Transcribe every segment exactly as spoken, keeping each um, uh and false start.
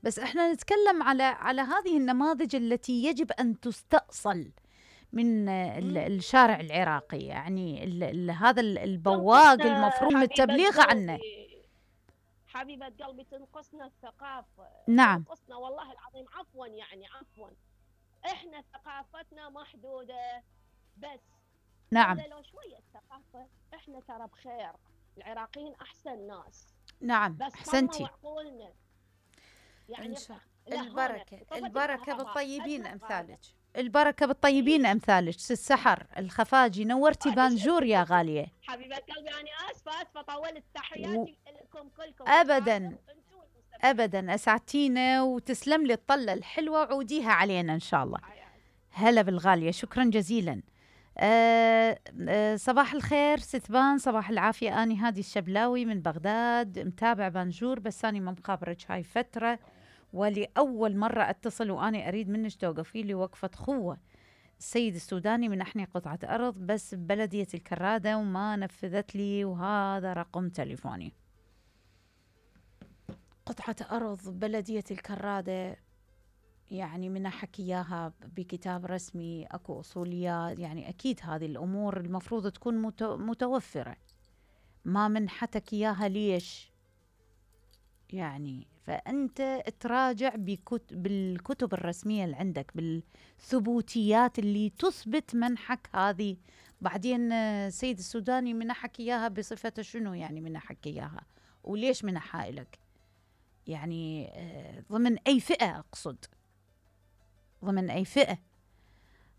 بس احنا نتكلم على على هذه النماذج التي يجب ان تستأصل من ال- الشارع العراقي، يعني ال ال هذا ال- البواق المفروض التبليغ عنه. حبيبة قلبي تنقصنا الثقافة، نعم تنقصنا والله العظيم. عفوا يعني عفوا، احنا ثقافتنا محدودة بس. نعم لو شوية ثقافة احنا ترى بخير، العراقيين احسن ناس. نعم بس احسنتي. عقولنا يعني إن شاء لهونا. البركة البركة بالطيبين أسمع أمثالك، البركة بالطيبين أمثالك. ست سحر الخفاجي نورتي بانجور يا غالية. حبيبة قلبي أنا آسفة آسفة طولت. تحياتي لكم كلكم. أبدا أبدا أسعدتينا، وتسلم لي الطلة الحلوة، وعوديها علينا إن شاء الله. هلا بالغالية، شكرا جزيلا. أه أه صباح الخير ستبان، صباح العافية. أني هادي الشبلاوي من بغداد، متابع بانجور، بس أني ما مخابرك هاي فترة، ولأول مرة أتصل وأنا أريد منك توقفي لي وقفة خوة. السيد السوداني منحني قطعة أرض بس ببلدية الكرادة وما نفذت لي، وهذا رقم تليفوني. قطعة أرض ببلدية الكرادة، يعني من حكي إياها بكتاب رسمي، أكو أصوليات، يعني أكيد هذه الأمور المفروض تكون متوفرة. ما من حتك إياها ليش؟ يعني فأنت تراجع بكتب بالكتب الرسمية اللي عندك، بالثبوتيات اللي تثبت منحك هذه. بعدين السيد السوداني منحك إياها بصفة شنو؟ يعني منحك إياها وليش منحها إلك؟ يعني ضمن أي فئة؟ أقصد ضمن أي فئة؟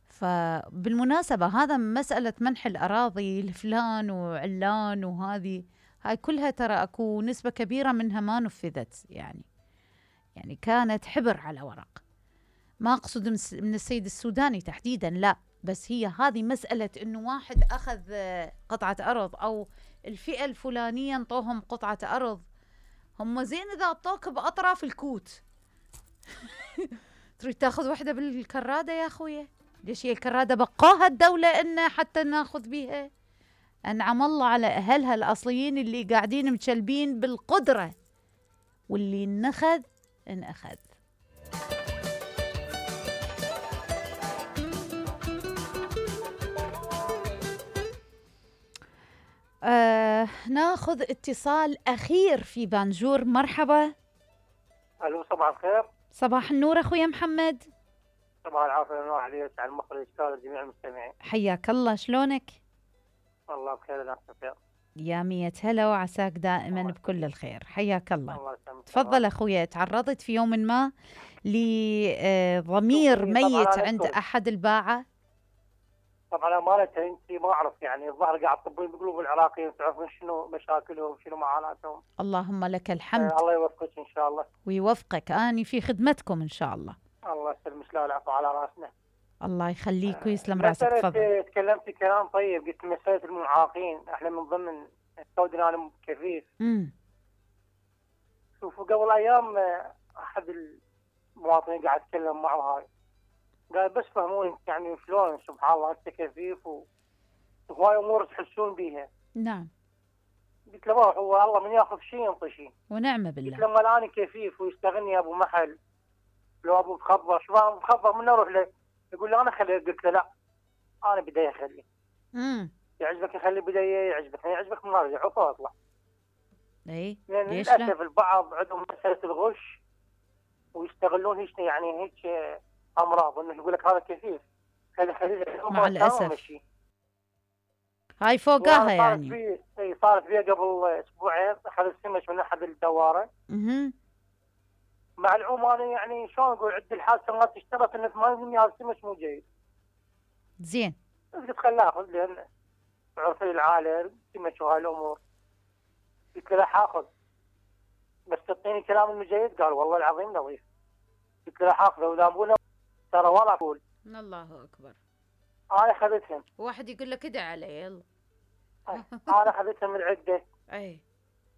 فبالمناسبة هذا مسألة منح الأراضي لفلان وعلان وهذه هاي كلها ترى أكو نسبة كبيرة منها ما نفذت، يعني يعني كانت حبر على ورق. ما أقصد من السيد السوداني تحديدا، لا، بس هي هذه مسألة إنه واحد أخذ قطعة أرض أو الفئة الفلانية انطوهم قطعة أرض، هم زين إذا أعطوك بأطراف الكوت تريد تاخذ وحدة بالكرادة يا أخويا؟ ليش هي الكرادة بقاها الدولة إن حتى ناخذ بيها؟ أنعم الله على أهلها الأصليين اللي قاعدين متشلبين بالقدرة، واللي نخذ انأخذ. آه ناخذ اتصال أخير في بانجور. مرحبا. ألو صباح الخير. صباح النور أخويا محمد. صباح العافية والنور على المخرج جميع المستمعين. حياك الله، شلونك؟ والله بخير لا بخير. يا مية هلا وعساك دائما الله بكل الخير. حياك الله. الله تفضل أخويا. تعرضت في يوم ما لضمير ميت عند أحد الباعة؟ طبعا أمانة أنت ما أعرف، يعني الظاهر قاعد تطبين بقلوب العراقيين، تعرفون شنو مشاكلهم شنو معاناتهم. اللهم لك الحمد. آه الله يوفقك إن شاء الله. ويوفقك، أني في خدمتكم إن شاء الله. الله يسلمك، لا العفو على راسنا. الله يخليك ويسلم راسك. تفضل. تكلمتي كلام طيب، قلت مسألة المعاقين احنا من ضمن السودان انا كفيف. امم شوفوا قبل ايام احد المواطنين قاعد اتكلم معه هاي، قال بس فهموني يعني شلون سبحان الله انت كفيف وهواي امور تحسون بيها. نعم. قلت له ما هو الله من ياخذ شيء ينطي شيء. ونعم بالله. قلت له ما انا كفيف ويستغني ابو محل لو ابو مخبر شو مخبر من اروح له يقول لي انا خليه. قلت له لا انا بدي اخليه. امم يعجبك يخلي بدايه، يعجبك يعجبك ما ارجع عفوا اطلع. اي لان للاسف البعض عندهم مساله الغش ويستغلون هيك يعني هيك امراض، انه يقول لك هذا كفيف خلي خلي مع الاسف هاي فوقها يعني. صارت اي صارت فيها قبل اسبوعين، اخذ سمش من احد الدواره. اها مع العموم انا يعني شلون اقول عد الحادثه ما تشترط ان ثمانين بالمئة هذا السمش مو جيد. زين. قلت خلاه اخذ لان عرف العالم سمش وهاي الامور. قلت له حاخذ بس تعطيني كلام المجيد. قال والله العظيم نظيف. قلت له حاخذه ولا ابونا ترى ولا اقول. الله اكبر. انا اخذتهم. واحد يقول لك ادعي علي يلا. انا اخذتهم من عده. اي.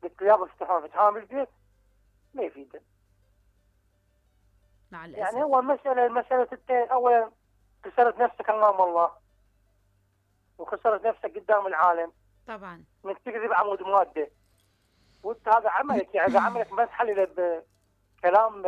قلت له يابا افتحون فتحون بالبيت ما يفيد. مع الاسف. يعني هو المساله مساله التين، اولا خسرت نفسك امام الله وخسرت نفسك قدام العالم. طبعا. انك تكذب عمود ماده. وانت هذا عملك، يعني هذا عملك ما تحلله بكلام